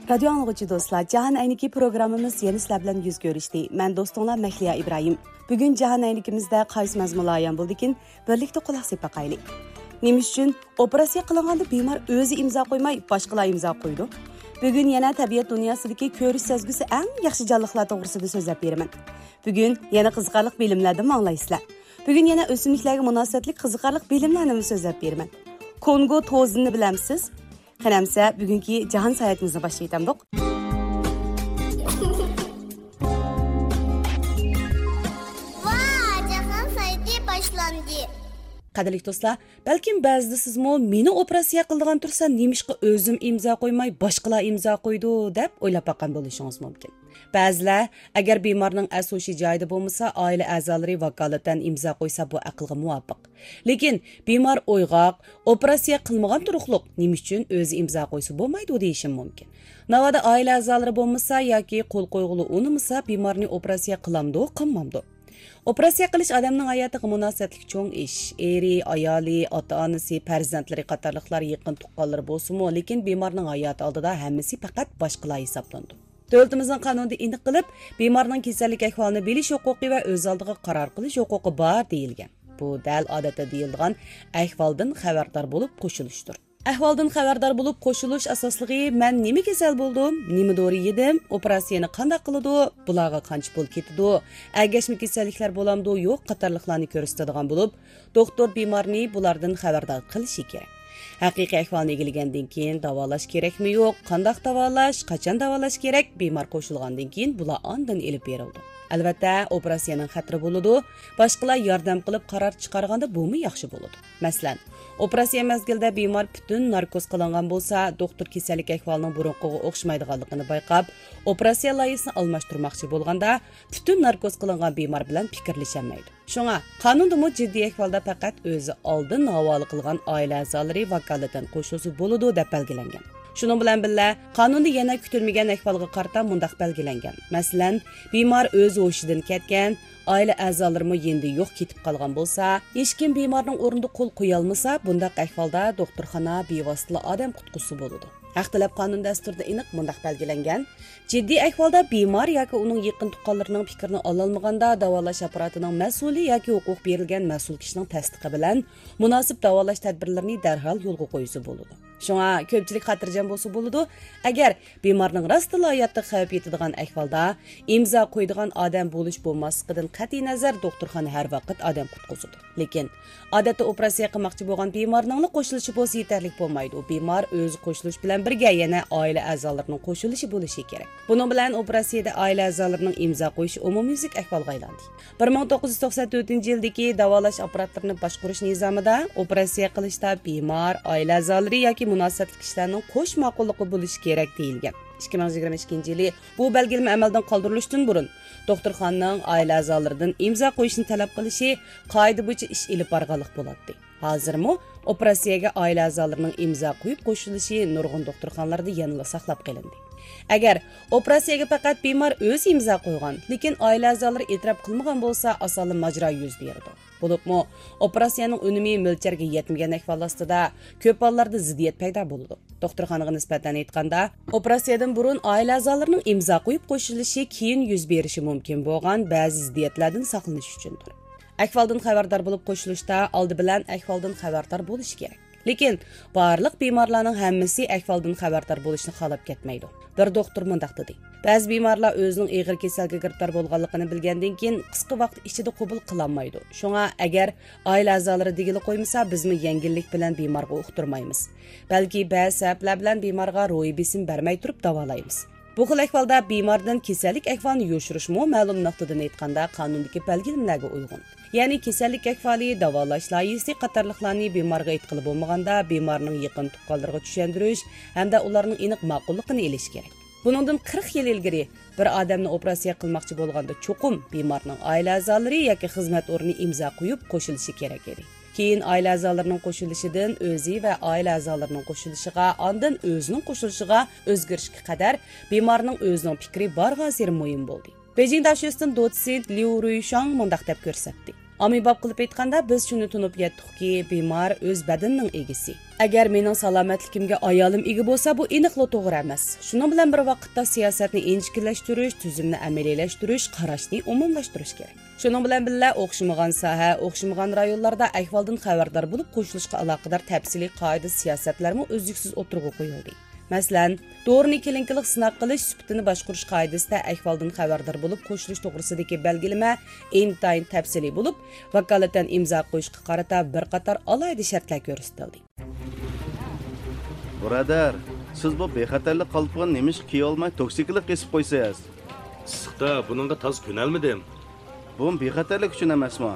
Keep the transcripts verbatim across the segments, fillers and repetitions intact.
رادىيو ئاڭلىغۇچى دوستلار، جاھان ئەينىكى پروگراممىمىز يەنە سىلەر بىلەن يۈز كۆرۈشتى. مەن دوستۇڭلار مەھلىيا ئىبراھىم. بۈگۈن جاھان ئەينىكىمىزدە قايسى مەزمۇنلار ئايان بولدىكىن، بىرلىكتە قۇلاق سېلىپ باقايلى. نېمە ئۈچۈن ئوپېراتسىيە قىلىنغاندا بىمار ئۆزى ئىمزا قويماي، باشقىلار ئىمزا قويىدۇ؟ بۈگۈن يەنە تەبىئەت دۇنياسىدىكى كۆرۈش سەزگۈسى ئەڭ ياخشى جانلىقلار توغرىسىدا سۆزلەپ بېرىمەن. بۈگۈن يەنە قىزىقارلىق بىلىملەردىن ئاڭلايسىلەر. بۈگۈن يەنە ئۆسۈملۈكلەرگە مۇناسىۋەتلىك قىزىقارلىق بىلىملەرنىمۇ سۆزلەپ بېرىمەن. كونگو توزىنىنى بىلەمسىز؟ قېنى ئەمسە بۈگۈنكى جاھان ساياھىتىمىزنى باشلايتامدۇق؟ ۋا، جاھان ساياھىتى باشلاندى. قەدىرلىك دوستلار، بەلكىم بەزىدە سىزمۇ مېنى ئوپېراتسىيە قىلىدىغان تۇرسا نېمىشقا ئۆزۈم ئىمزا قويماي باشقىلار ئىمزا قويىدۇ دەپ ئويلاپ باققان بولۇشىڭىز مۇمكىن. بەزىلەر ئەگەر بىمارنىڭ ئەس ھوشى جايىدا بولمىسا، ئائىلە ئەزالىرى ۋاكالىتەن ئىمزا قويسا بۇ ئەقىلگە مۇۋاپىق. لېكىن بىمار ئويغاق، ئوپېراتسىيە قىلمىغان تۇرۇقلۇق، نېمە ئۈچۈن ئۆزى ئىمزا قويسا بولمايدۇ دېيىشىم مۇمكىن. ناۋادا ئائىلە ئەزالىرى بولمىسا ياكى قول قويغىلى ئۇنىمىسا، بىمارنى ئوپېراتسىيە قىلامدۇ، قىلمامدۇ؟ ئوپېراتسىيە قىلىش ئادەمنىڭ ھاياتىغا مۇناسىۋەتلىك چوڭ ئىش. ئېرى، ئايالى، ئاتا-ئانىسى، پەرزەنتلىرى قاتارلىقلار يېقىن تۇغقانلىرى بولسىمۇ، لېكىن بىمارنىڭ ھاياتى ئالدىدا ھەممىسى پەقەت باشقىلار ھېسابلىنىدۇ. دۆلىتىمىزنىڭ قانۇنىدا ئېنىق قىلىپ، بىمارنىڭ كېسەللىك ئەھۋالىنى بىلىش ھوقۇقى ۋە ئۆز ئالدىغا قارار قىلىش ھوقۇقى بار دېيىلگەن. بۇ دەل ئادەتتە دېيىلىدىغان ئەھۋالدىن خەۋەردار بولۇپ قوشۇلۇشتۇر. ئەھۋالدىن خەۋەردار بولۇپ قوشۇلۇش ئاساسلىقى، مەن نېمە كېسەل بولدۇم، نېمە دورا يېدىم، ئوپېراتسىيەنى قانداق قىلىدۇ، بۇلارغا قانچە پۇل كېتىدۇ، ئەگەشمە كېسەللىكلەر بولامدۇ، يوق قاتارلىقلارنى كۆرسىتىدىغان بولۇپ، دوختۇر بىمارنى بۇلاردىن خەۋەردار قىلىشى كېرەك. ھەقىقىي ئەھۋالنى ئىگىلىگەندىن كېيىن داۋالاش كېرەكمۇ يوق، قانداق داۋالاش، قاچان داۋالاش كېرەك، بىمار قوشۇلغاندىن كېيىن بۇلار ئاندىن ئېلىپ بېرىلىدۇ. ئەلۋەتتە، ئوپېراتسىيەنىڭ خەتىرى بولىدۇ، باشقىلار ياردەم قىلىپ قارار چىقارغاندا بۇمۇ ياخشى بولىدۇ. مەسىلەن، ئوپېراتسىيە مەزگىلىدە بىمار پۈتۈن ناركوز قىلىنغان بولسا، دوختۇر كېسەللىك ئەھۋالىنىڭ بۇرۇنقىغا ئوخشىمايدىغانلىقىنى بايقاپ، ئوپېراتسىيە لايىھىسىنى ئالماشتۇرماقچى بولغاندا، پۈتۈن ناركوز قىلىنغان بىمار بىلەن پىكىرلىشەلمەيدۇ. شۇڭا، قانۇندىمۇ جىددىي ئەھۋالدا پەقەت ئۆزى ئالدىن ھاۋالە قىلغان ئائىلە ئەزالىرى ۋاكالىتەن قوشۇلسا بولىدۇ، دەپ بەلگىلەنگەن. شۇنىڭ بىلەن بىللە، قانۇندا يەنە كۈتۈلمىگەن ئەھۋالغا قارىتا مۇنداق بەلگىلەنگەن. مەسىلەن، بىمار ئۆز ھوشىدىن كەتكەن، ئائىلە ئەزالىرىمۇ يېنىدا يوق، كېتىپ قالغان بولسا، ھېچكىم بىمارنىڭ ئورنىدا قول قويالمىسا، بۇنداق ئەھۋالدا دوختۇرخانا بىۋاسىتىلا ئادەم قۇتقۇزسا بولىدۇ. ھەق تەلەپ قانۇن دەستۇرىدا ئېنىق مۇنداق بەلگىلەنگەن: جىددىي ئەھۋالدا بىمار ياكى ئۇنىڭ يېقىن تۇغقانلىرىنىڭ پىكرىنى ئالالمىغاندا، داۋالاش ئاپپاراتىنىڭ مەسئۇلى ياكى ھوقۇق بېرىلگەن مەسئۇل كىشىنىڭ تەستىقى بىلەن مۇناسىپ داۋالاش تەدبىرلىرىنى دەرھال يولغا قويسا بولىدۇ. شۇڭا كۆپچىلىك خاتىرجەم بولسا بولىدۇ، ئەگەر بىمارنىڭ راستلا ھاياتىغا خەۋپ يېتىدىغان ئەھۋالدا، ئىمزا قويىدىغان ئادەم بولۇش بولماسلىقىدىن قەتئىينەزەر، دوختۇرخانا ھەر ۋاقىت ئادەم قۇتقۇزىدۇ. لېكىن، ئادەتتە ئوپېراتسىيە قىلماقچى بولغان بىمارنىڭلا قوشۇلۇشى بولسا يېتەرلىك بولمايدۇ. بىمار ئۆزى قوشۇلۇش بىلەن بىرگە يەنە ئائىلە ئەزالىرىنىڭ قوشۇلۇشى بولۇشى كېرەك. بۇنىڭ بىلەن ئوپېراتسىيەدە ئائىلە ئەزالىرىنىڭ ئىمزا قويۇشى ئومۇميۈزلۈك ئەھۋالغا ئايلاندى. بىر مىڭ توققۇز يۈز توقسەن تۆتىنچى يىلدىكى داۋالاش ئاپپاراتلىرىنى باشقۇرۇش نىزامىدا ئوپېراتسىيە قىلىشتا بىمار، ئائىلە ئەزالىرى ياكى مۇناسىۋەتلىك كىشىلەرنىڭ قوش ماقۇللۇقى بولۇشى كېرەك دېيىلگەن. ئىككى مىڭ يىگىرمە ئىككىنچى يىلى بۇ بەلگىلىمە ئەمەلدىن قالدۇرۇلۇشتىن بۇرۇن، دوختۇرخانىنىڭ ئائىلە ئەزالىرىدىن ئىمزا قويۇشنى تەلەپ قىلىشى قائىدە بويىچە ئىش ئېلىپ بارغانلىق بولاتتى. ھازىرمۇ ئوپېراتسىيەگە ئائىلە ئەزالىرىنىڭ ئىمزا قويۇپ قوشۇلۇشى نۇرغۇن دوختۇرخانىلاردا يەنىلا ساقلاپ قېلىندى. ئەگەر ئوپېراتسىيەگە پەقەت بىمار ئۆزى ئىمزا قويغان، لېكىن ئائىلە ئەزالىرى ئېتىراپ قىلمىغان بولسا، ئاسانلا ماجىرا يۈز بېرىدۇ. بولۇپمۇ، ئوپېراتسىيەنىڭ ئۈنۈمى مۆلچەرگە يەتمىگەن ئەھۋال ئاستىدا كۆپ ھاللاردا زىددىيەت پەيدا بولىدۇ. دوختۇرخانىغا نىسبەتەن ئېيتقاندا، ئوپېراتسىيەدىن بۇرۇن ئائىلە ئەزالىرىنىڭ ئىمزا قويۇپ قوشۇلۇشى كېيىن يۈز بېرىشى مۇمكىن بولغان بەزى زىددىيەتلەردىن ساقلىنىش ئۈچۈندۇر. ئەھۋالدىن خەۋەردار بولۇپ قوشۇلۇشتا ئالدى بىلەن ئەھۋالدىن خەۋەردار بولۇش كېرەك. لېكىن بارلىق بىمارلارنىڭ ھەممىسى ئەھۋالدىن خەۋەردار بولۇشنى خالاپ كەتمەيدۇ. بىر دوختۇر مۇنداق دېدى: بەزى بىمارلار ئۆزىنىڭ ئېغىر كېسەلگە گىرىپتار بولغانلىقىنى بىلگەندىن كېيىن، قىسقا ۋاقىت ئىچىدە قوبۇل قىلالمايدۇ. شۇڭا، ئەگەر ئائىلە ئەزالىرى دېگىلى قويمىسا، بىزمۇ يەڭگىللىك بىلەن بىمارغا ئۇقتۇرمايمىز. بەلكى بەزى سەۋەبلەر بىلەن بىمارغا روھىي بېسىم بەرمەي تۇرۇپ داۋالايمىز. بۇ خىل ئەھۋالدا بىماردىن كېسەللىك ئەھۋالىنى يوشۇرۇشمۇ مەلۇم نۇقتىدىن ئېيتقاندا قانۇندىكى بەلگىلىمىلەرگە ئۇيغۇن. يەنى كېسەللىك ئەھۋالى، داۋالاش لايىھىسى قاتارلىقلارنى بىمارغا ئېيتقىلى بولمىغاندا، بىمارنىڭ يېقىن تۇغقانلىرىغا چۈشەندۈرۈش ھەمدە ئۇلارنىڭ ئېنىق ماقۇللۇقىنى ئېلىش كېرەك. بۇنىڭدىن قىرىق يىل ئىلگىرى بىر ئادەمنى ئوپېراتسىيە قىلماقچى بولغاندا، چوقۇم بىمارنىڭ ئائىلە ئەزالىرى ياكى خىزمەت ئورنى ئىمزا قويۇپ قوشۇلۇشى كېرەك ئىدى. كېيىن ئائىلە ئەزالىرىنىڭ قوشۇلۇشىدىن ئۆزى ۋە ئائىلە ئەزالىرىنىڭ قوشۇلۇشىغا، ئاندىن ئۆزىنىڭ قوشۇلۇشىغا ئۆزگىرىشكە قەدەر بىمارنىڭ ئۆزىنىڭ پىكرى بارغانسېرى مۇھىم بولدى. بېيجىڭ داشۆسىدىن دوتسېنت ليۇ رۇيشاڭ مۇنداق دەپ كۆرسەتتى: ئاممىباب قىلىپ ئېيتقاندا، بىز شۇنى تونۇپ يەتتۇقكى، بىمار ئۆز بەدىنىنىڭ ئىگىسى. ئەگەر مېنىڭ سالامەتلىكىمگە ئايالىم ئىگە بولسا، بۇ ئېنىقلا توغرا ئەمەس. شۇنىڭ بىلەن بىر ۋاقىتتا، سىياسەتنى ئىنچىكىلەشتۈرۈش، تۈزۈمنى ئەمەلىيلەشتۈرۈش، قاراشنى ئومۇملاشتۇرۇش كېرەك. شۇنىڭ بىلەن بىللە، ئوخشىمىغان ساھە، ئوخشىمىغان رايونلاردا ئەھۋالدىن خەۋەردار بولۇپ قوشۇلۇشقا ئالاقىدار تەپسىلىي قائىدە، سىياسەتلەرمۇ ئۈزلۈكسىز ئوتتۇرىغا قويۇلدى. مەسىلەن، دورىنى كىلىنىكىلىق سىناق قىلىش سۈپىتىنى باشقۇرۇش قائىدىسىدە ئەھۋالدىن خەۋەردار بولۇپ قوشۇلۇش توغرىسىدىكى بەلگىلىمە ئىنتايىن تەپسىلىي بولۇپ، ۋاكالىتەن ئىمزا قويۇشقا قارىتا بىر قاتار ئالاھىدە شەرتلەر كۆرسىتىلدى. بۇرادەر، سىز بۇ بىخەتەرلىك قالپىقىنى نېمىشقا كىيىۋالماي توكسىكىلىق كېسىپ قويىسىز؟ ئىسسىقتا بۇنىڭغا تازا كۆنەلمىدىم. بۇمۇ بىخەتەرلىك ئۈچۈن ئەمەسمۇ؟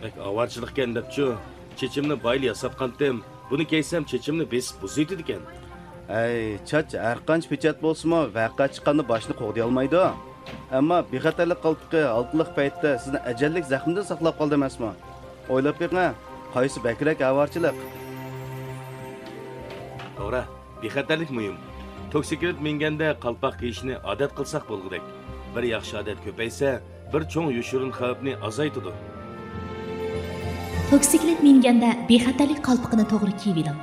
بەك ئاۋارىچىلىقكەن دەپچۇ، چېچىمنى بايىلا ياساتقانتىم. بۇنى كىيسەم، چېچىمنى بېسىپ بۇزۇۋېتىدىكەن. ھەي، چاچ ھەرقانچە پېچەت بولسىمۇ، ۋەقە چىققاندا باشنى قوغدىيالمايدۇ. ئەمما بىخەتەرلىك قالپىقى ھالقىلىق پەيتتە سىزنى ئەجەللىك زەخمىدىن ساقلاپ قالدى ئەمەسمۇ؟ ئويلاپ بېقىڭ، قايسى بەكرەك ئاۋارىچىلىق؟ توغرا، بىخەتەرلىك مۇھىم. توكسىكلىت مىنگەندە قالپاق كىيىشنى ئادەت قىلساق بولغۇدەك. بىر ياخشى ئادەت كۆپەيسە، بىر چوڭ يوشۇرۇن خەۋپنى ئازايتىدۇ. توكسىكلىت مىنگەندە بىخەتەرلىك قالپىقىنى توغرا كىيىۋېلىڭ.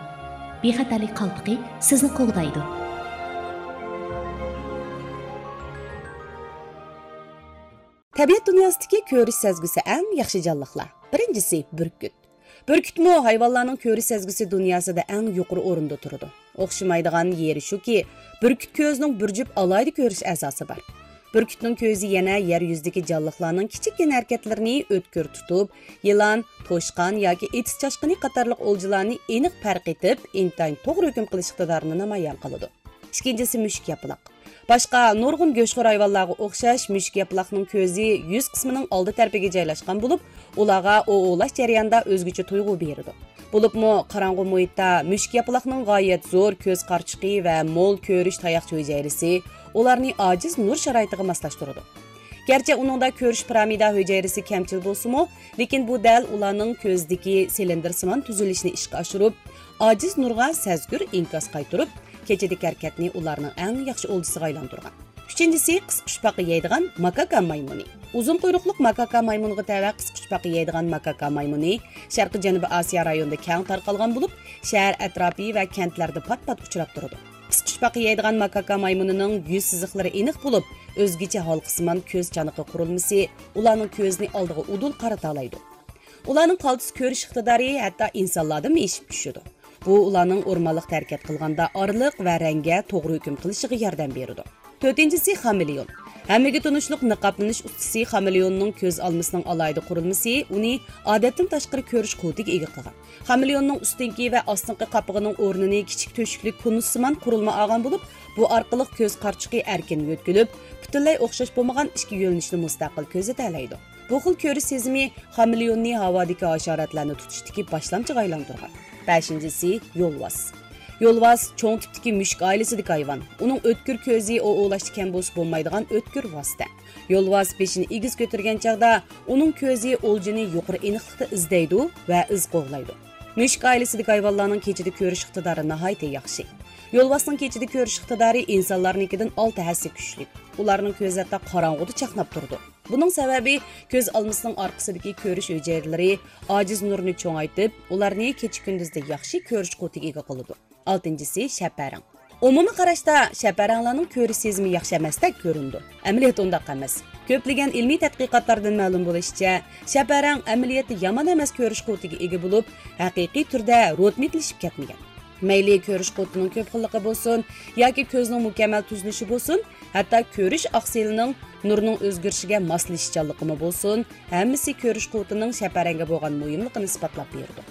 بىخەتەرلىك قالپىقى سىزنى قوغدايدۇ. تەبىئەت دۇنياسىدىكى كۆرۈش سەزگۈسى ئەڭ ياخشى جانلىقلار. بىرىنچىسى، بۈركۈت. بۈركۈتمۇ ھايۋانلارنىڭ كۆرۈش سەزگۈسى دۇنياسىدا ئەڭ يۇقىرى ئورۇندا تۇرىدۇ. ئوخشىمايدىغان يېرى شۇكى، بۈركۈت كۆزىنىڭ بىر جۈپ ئالاھىدە كۆرۈش ئەزاسى بار. بۈركۈتنىڭ كۆزى يەنە يەر يۈزىدىكى جانلىقلارنىڭ كىچىككىنە ھەرىكەتلىرىنى ئۆتكۈر تۇتۇپ، يىلان، توشقان ياكى ئېتىز چاشقىنى قاتارلىق ئولجىلارنى ئېنىق پەرق ئېتىپ، ئىنتايىن توغرا ھۆكۈم قىلىش ئىقتىدارىنى نامايان قىلىدۇ. ئىككىنچىسى، مۈشۈك ياپىلاق. باشقا نۇرغۇن گۆشخور ھايۋانلارغا ئوخشاش، مۈشۈك ياپىلاقنىڭ كۆزى يۈز قىسمىنىڭ ئالدى تەرىپىگە جايلاشقان بولۇپ، ئۇلارغا ئوۋ ئوۋلاش جەريانىدا ئۆزگىچە تۇيغۇ بېرىدۇ. بولۇپمۇ قاراڭغۇ مۇھىتتا مۈشۈك ياپىلاقنىڭ غايەت زور كۆز قارىچۇقى ۋە مول كۆرۈش تاياقچە ھۈجەيرىسى ئۇلارنى ئاجىز نۇر شارائىتىغا ماسلاشتۇرىدۇ. گەرچە ئۇنىڭدا كۆرۈش پىرامىدا ھۈجەيرىسى كەمچىل بولسىمۇ، لېكىن بۇ دەل ئۇلارنىڭ كۆزدىكى سىلىندىرسىمان تۈزۈلۈشنى ئىشقا ئاشۇرۇپ، ئاجىز نۇرغا سەزگۈر ئىنكاس قايتۇرۇپ، كېچىدىكى ھەرىكەتنى ئۇلارنىڭ ئەڭ ياخشى ئولجىسىغا ئايلاندۇرغان. ئۈچىنچىسى، قىسقۇچپاقا يەيدىغان ماكاكا مايمۇنى. ئۇزۇن قۇيرۇقلۇق ماكاكا مايمۇنىغا تەۋە قىسقۇچپاقا يەيدىغان ماكاكا مايمۇنى شەرقىي جەنۇبىي ئاسىيا رايونىدا كەڭ تارقالغان بولۇپ، شەھەر ئەتراپى ۋە كەنتلەردە پات-پات ئۇچراپ تۇرىدۇ. قىسقۇچپاقا يەيدىغان ماكاكا مايمۇنىنىڭ يۈز سىزىقلىرى ئېنىق بولۇپ، ئۆزگىچە ھالقىسىمان كۆز چانىقى قۇرۇلمىسى ئۇلارنىڭ كۆزىنى ئالدىغا ئۇدۇل قارىتالايدۇ. ئۇلارنىڭ قالتىس كۆرۈش ئىقتىدارى ھەتتا ئىنسانلاردىنمۇ ئېشىپ چۈشىدۇ. بۇ ئۇلارنىڭ ئورمانلىقتا ھەرىكەت قىلغاندا ئارىلىق ۋە رەڭگە توغرا ھۆكۈم قىلىشىغا ياردەم بېرىدۇ. تۆتىنچىسى، خامېلېئون. ھەممىگە تونۇشلۇق نىقابلىنىش ئۇستىسى خامېلېئوننىڭ كۆز ئالمىسىنىڭ ئالاھىدە قۇرۇلمىسى ئۇنى ئادەتتىن تاشقىرى كۆرۈش قۇۋۋىتىگە ئىگە قىلغان. خامېلېئوننىڭ ئۈستۈنكى ۋە ئاستىنقى قاپىقىنىڭ ئورنىنى كىچىك تۆشۈكلۈك كونۇسسىمان قۇرۇلما ئالغان بولۇپ، بۇ ئارقىلىق كۆز قارىچۇقى ئەركىن يۆتكىلىپ، پۈتۈنلەي ئوخشاش بولمىغان ئىككى يۆنىلىشنى مۇستەقىل كۆزىتەلەيدۇ. بۇ خىل كۆرۈش سېزىمى خامېلېئوننى ھاۋادىكى ھاشاراتلارنى تۇتۇشتىكى باشلامچىغا ئايلاندۇرغان. بەشىنچىسى، يولۋاس. يولۋاس چوڭ تىپتىكى مۈشۈك ئائىلىسىدىكى ھايۋان. ئۇنىڭ ئۆتكۈر كۆزى ئوۋ ئوۋلاشتا كەم بولسا بولمايدىغان ئۆتكۈر ۋاسىتە. يولۋاس بېشىنى ئېگىز كۆتۈرگەن چاغدا ئۇنىڭ كۆزى ئولجىنى يۇقىرى ئېنىقلىقتا ئىزدەيدۇ ۋە ئىز قوغلايدۇ. مۈشۈك ئائىلىسىدىكى ھايۋانلارنىڭ كېچىدە كۆرۈش ئىقتىدارى ناھايىتى ياخشى. يولۋاسنىڭ كېچىدە كۆرۈش ئىقتىدارى ئىنسانلارنىڭكىدىن ئالتە ھەسسە كۈچلۈك. ئۇلارنىڭ كۆزى ھەتتا قاراڭغۇدا چاقناپ تۇرىدۇ. بۇنىڭ سەۋەبى، كۆز ئالمىسىنىڭ ئارقىسىدىكى كۆرۈش ھۈجەيرىلىرى ئاجىز نۇرنى چوڭايتىپ، ئۇلارنى كېچە-كۈندۈزدە ياخشى كۆرۈش قۇۋۋىتىگە ئىگە قىلىدۇ. ئالتىنچىسى، شەپەرەڭ. ئومۇمىي قاراشتا شەپەرەڭلارنىڭ كۆرۈش سېزىمى ياخشى ئەمەستەك كۆرۈنىدۇ. ئەمەلىيەت ئۇنداق ئەمەس. كۆپلىگەن ئىلمىي تەتقىقاتلاردىن مەلۇم بولۇشىچە، شەپەرەڭ ئەمەلىيەتتە يامان ئەمەس كۆرۈش قۇۋۋىتىگە ئىگە بولۇپ، ھەقىقىي تۈردە روتمىتلىشىپ كەتمىگەن. مەيلى كۆرۈش قۇۋۋىتىنىڭ كۆپ خىللىقى بولسۇن ياكى كۆزنىڭ مۇكەممەل تۈزۈلۈشى بولسۇن، ھەتتا كۆرۈش ئاقسىلىنىڭ نۇرنىڭ ئۆزگىرىشىگە ماسلىشىشچانلىقىمۇ بولسۇن، ھەممىسى كۆرۈش قۇۋۋىتىنىڭ شەپەرەڭگە بولغان مۇھىملىقىنى ئىسپاتلاپ بېرىدۇ.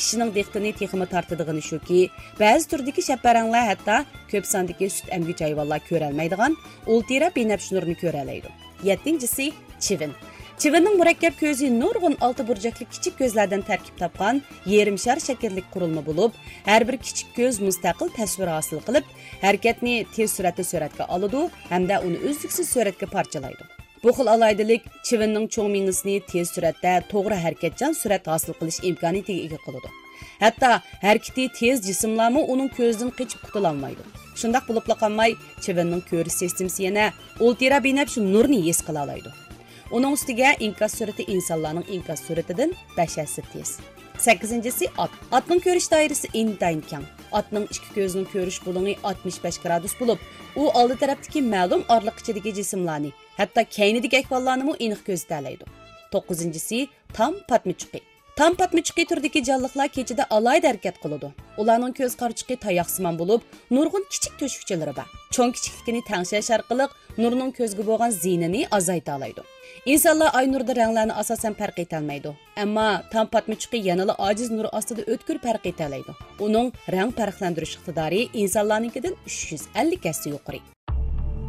كىشىنىڭ دىققىتىنى تېخىمۇ تارتىدىغىنى شۇكى، بەزى تۈردىكى شەپەرەڭلەر ھەتتا كۆپ ساندىكى سۈت ئەمگۈچى ھايۋانلار كۆرەلمەيدىغان ئۇلترا بىنەپشە نۇرنى كۆرەلەيدۇ. يەتتىنچىسى، چىۋىن. چىۋىننىڭ مۇرەككەپ كۆزى نۇرغۇن ئالتە بۇرجەكلىك كىچىك كۆزلەردىن تەركىب تاپقان يېرىم شار شەكىللىك قۇرۇلما بولۇپ، ھەر بىر كىچىك كۆز مۇستەقىل تەسۋىر ھاسىل قىلىپ، ھەرىكەتنى تېز سۈرئەتتە سۈرەتكە ئالىدۇ ھەمدە ئۇنى ئۈزلۈكسىز سۈرەتكە پارچىلايدۇ. بۇ خىل ئالاھىدىلىك چىۋىننىڭ چوڭ مېڭىسىنى تېز سۈرئەتتە توغرا ھەرىكەتچان سۈرەت ھاسىل قىلىش ئىمكانىيىتىگە ئىگە قىلىدۇ. ھەتتا ھەرىكىتى تېز جىسىملارمۇ ئۇنىڭ كۆزىدىن قېچىپ قۇتۇلالمايدۇ. شۇنداق بولۇپلا قالماي، چىۋىننىڭ كۆرۈش سىستېمىسى يەنە ئۇلترا بىنەپشە نۇرنى ھېس قىلالايدۇ. ئۇنىڭ ئۈستىگە ئىنكاس سۈرئىتى ئىنسانلارنىڭ ئىنكاس سۈرئىتىدىن بەش ھەسسە تېز. سەككىزىنچىسى ئات. ئاتنىڭ كۆرۈش دائىرىسى ئىنتايىن كەڭ. ئاتنىڭ ئىككى كۆزىنىڭ كۆرۈش بۇلۇڭى ئاتمىش بەش گرادۇس بولۇپ، ئۇ ئالدى تەرەپتىكى مەلۇم ئارىلىق ئىچىدىكى جىسىملارنى، ھەتتا كەينىدىكى ئەھۋاللارنىمۇ ئېنىق كۆزىتەلەيدۇ. توققۇزىنچىسى تام پاتمىچۇقى. تام پاتمىچۇقى تۈرىدىكى جانلىقلار كېچىدە ئالاھىدە ھەرىكەت قىلىدۇ. ئۇلارنىڭ كۆز قارىچۇقى تاياقسىمان بولۇپ، نۇرغۇن كىچىك تۆشۈكچىلىرى بار. چوڭ كىچىكلىكىنى تەڭشەش ئارقىلىق نۇرنىڭ كۆزگە بولغان زىيىنىنى ئازايتالايدۇ. ئىنسانلار ئاي نۇرىدا رەڭلەرنى ئاساسەن پەرق ئېتەلمەيدۇ. ئەمما تام پاتمىچۇقى يەنىلا ئاجىز نۇر ئاستىدا ئۆتكۈر پەرق ئېتەلەيدۇ. ئۇنىڭ رەڭ پەرقلەندۈرۈش ئىقتىدارى ئىنسانلارنىڭكىدىن ئۈچ يۈز ئەللىك ھەسسە يۇقىرى.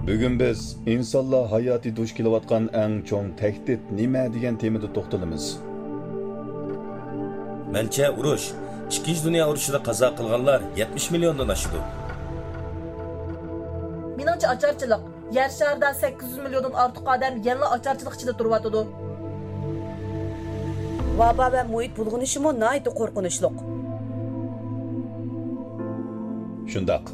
بۈگۈن بىز ئىنسانلار ھاياتى دۇچ كېلىۋاتقان ئەڭ چوڭ تەھدىت نېمە دېگەن تېمىدا توختىلىمىز. مەنچە، ئۇرۇش، ئىككىنچى دۇنيا ئۇرۇشىدا قازا قىلغانلار يەتمىش مىليوندىن ئاشىدۇ. مېنىڭچە، ئاچارچىلىق. يەر شارىدا سەككىز يۈز مىليوندىن ئارتۇق ئادەم يەنىلا ئاچارچىلىق ئىچىدە تۇرۇۋاتىدۇ. ۋابا ۋە مۇھىت بۇلغىنىشىمۇ ناھايىتى قورقۇنچلۇق. شۇنداق.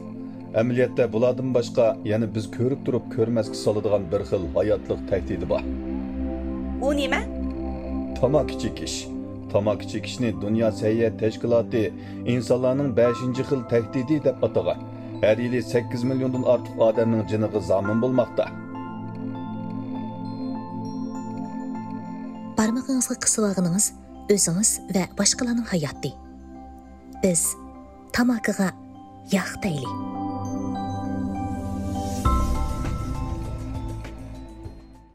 ئەمەلىيەتتە بۇلاردىن باشقا يەنە بىز كۆرۈپ تۇرۇپ كۆرمەسكە سالىدىغان بىر خىل ھاياتلىق تەھدىتى بار. ئۇ نېمە؟ تاماكا چېكىش. تاماكا چېكىشنى دۇنيا سەھىيە تەشكىلاتى ئىنسانلارنىڭ بەشىنچى خىل تەھدىتى دەپ ئاتىغان. ھەر يىلى سەككىز مىليوندىن ئارتۇق ئادەمنىڭ جېنىغا زامىن بولماقتا. بارمىقىڭىزغا قىسىۋالغىنىڭىز ئۆزىڭىز ۋە باشقىلارنىڭ ھاياتى. بىز تاماكىغا ياق دەيلى.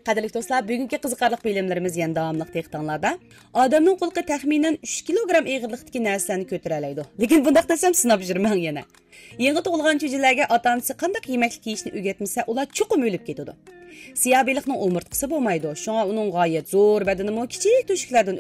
قەدىرلىك دوستلار، بۈگۈنكى قىزىقارلىق بىلىملىرىمىز يەنە داۋاملىق دىققىتىڭلاردا. ئادەمنىڭ قۇلىقى تەخمىنەن ئۈچ كىلوگرام ئېغىرلىقتىكى نەرسىلەرنى كۆتۈرەلەيدۇ. لېكىن بۇنداق دېسەم، سىناپ يۈرمەڭ يەنە. يېڭى تۇغۇلغان چۈجىلەرگە ئاتا-ئانىسى قانداق يېمەكلىك يېيىشنى ئۆگەتمىسە، ئۇلار چوقۇم ئۆلۈپ كېتىدۇ. سىياھ بېلىقنىڭ ئومۇرتقىسى بولمايدۇ، شۇڭا ئۇنىڭ غايەت زور بەدىنىمۇ كىچىك تۆشۈكلەردىن